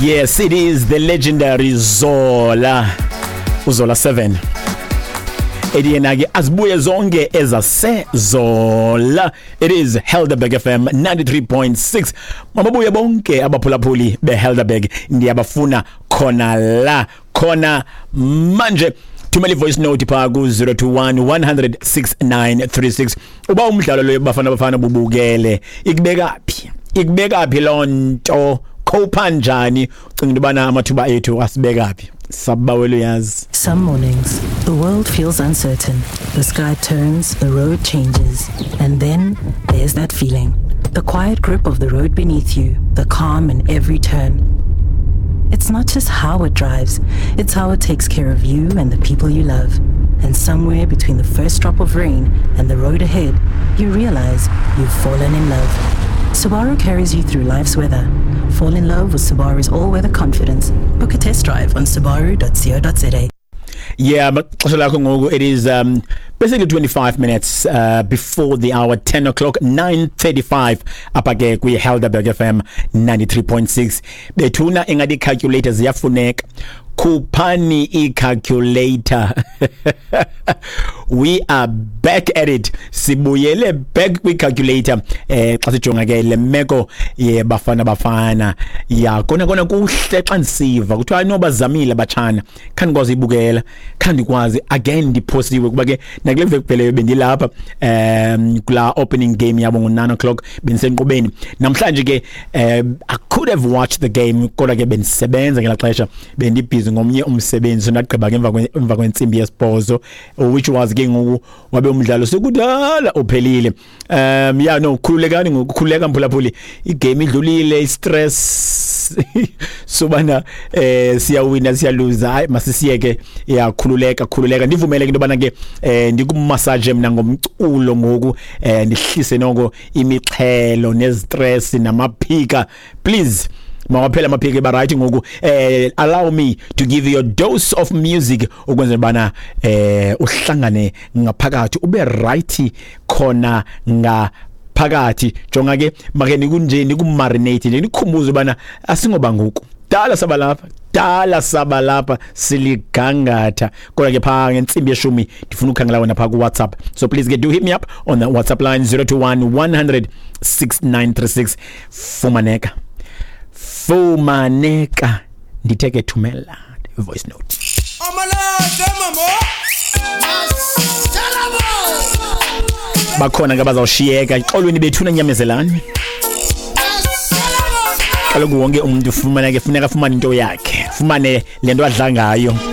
Yes, it is the legendary Zola. Uzola 7. Ethi yena ke azibuye zonke ezaseZola. It is Helderberg FM 93.6. Mababuye bonke abaphulaphuli beHelderberg, ndiyabafuna khona la khona manje. Thumela i-voice note phaa ku-021 100 6936 uba umdlalo loyo Bafana Bafana bubukele, ikubeka phi, ikubeka phi loo nto, khowupha njani, ucinga into yobana amathuba ethu asibeka phi? Sabawela uyazi. Some mornings, the world feels uncertain. The sky turns, the road changes, and then there's that feeling. The quiet grip of the road beneath you, the calm in every turn. It's not just how it drives, it's how it takes care of you and the people you love. And somewhere between the first drop of rain and the road ahead, you realize you've fallen in love. Subaru carries you through life's weather. Fall in love with Subaru's all-weather confidence. Book a test drive on subaru.co.za. Yeah, but xesha lakho ngoku, it is basically 25 minutes before the hour 10 o'clock, 9:35 apha ke kwi-Helderberg FM 93.6. Bethuna, ingathi ii-calculator ziyafuneka. Khuphani i-calculator. We are back at it, sibuyele back kwi-calculator xa sijonga ke le meko yeBafana Bafana. Ya kona kona kuhle xa ndisiva kuthiwa hayi, bazamile abatshana. Khandikwazi uyibukela, khandikwazi again, ndiphosiwe kuba ke nakule veki kupheleyo bendilapha kulaa opening game yabo ngo-9 o'clock, bendisenkqubeni. Namhlanje ke I could have watched the game, kodwa ke bendisebenza ngelaa xesha, bendibhizi ngomnye umsebenzi, so ndagqiba ke emva kwentsimbi yesibhozo, which was ke ngoku wabe umdlalo sekudala uphelile. Yeah, no, khululekani ngoku, khululeka mphulaphuli, igame idlulile, i-stress sobana siyawina, siyaluza, hayi, masisiyeke. Yakhululeka, khululeka. Ndivumele ke into yobana ke ndikumasaje mna ngomculo ngoku, ndihlise noko imixhelo nezistress namaphika. Please, mawaphela amaphika, eba right ngoku. Allow me to give you a dose of music ukwenzela bana uhlangane ngaphakathi, ube right khona ngaphakathi. Jonga ke, make nikunje nikumarinate nje, nikhumbuze bana asingoba ngoku dala saba lapha, dala saba lapha, siligangatha. Kodwa ke phaa ngentsimbi yeshumi ndifuna ukhangela wena phaa ku-WhatsApp, so please ke do hit me up on the WhatsApp line 021 100 6936. Fumaneka, fumaneka, ndithe ke thumela voice note. Amalade mamo. Bakhona ke abazawushiyeka xolweni bethuna, nyamezelani. Kaloku wonke umntu ufumaneke funeka afumane into yakhe, fumane le nto adla ngayo.